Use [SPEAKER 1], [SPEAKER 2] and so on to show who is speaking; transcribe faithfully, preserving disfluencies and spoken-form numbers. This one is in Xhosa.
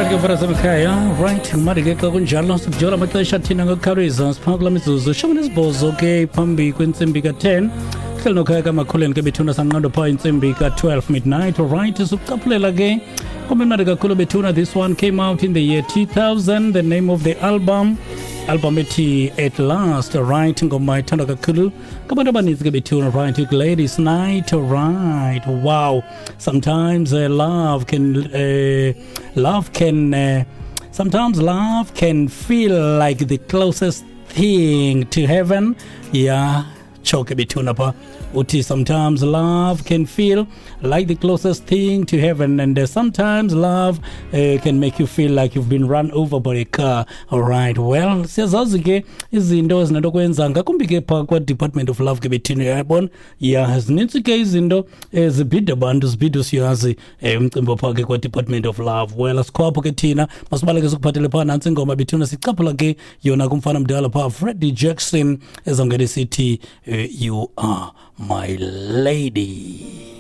[SPEAKER 1] Alright ke mfana sekhaya, right, manje ke xa kunjalo sikujola amaxesha thina ngokukhawuleza, siphaa kula mizuzu shumi nesibhozo ke phambi kwentsimbi ka-ten. Hleli nokhaya kamakhuleni ke bethuna, sanqando phaa intsimbi ka-twelve midnight. Alright, sikucaphulela ke kumnandi kakhulu bethuna. This one came out in the year two thousand, the name of the album album ethi At Last. Right, ngoma ithandwa kakhulu ngabantu abaninzi ke bethuna, right, Gladys Knight. Right, wow, sometimes uh, love can uh, love can uh, sometimes love can feel like the closest thing to heaven. Yeah, choke bethuna pha uthi sometimes love can feel like the closest thing to heaven, and uh, sometimes love uh, can make you feel like you've been run over by a car. All right, well, siyazazi ke izinto ezinento kwenza ngakumbi ke phaa kwa-Department of Love ke bethina, uyayibona. Ya, zinintsi ke izinto ezibhida abantu, zibhida usiyazi um umcimbi ophaa ke kwa-Department of Love. Well, asikho apho ke thina, masibaleke sikuphathele phaa nantsi ingoma bethuna, sicaphula ke yona kumfana mdala phaa, Freddie Jackson, ezawungena isithi uh, "You Are My Lady".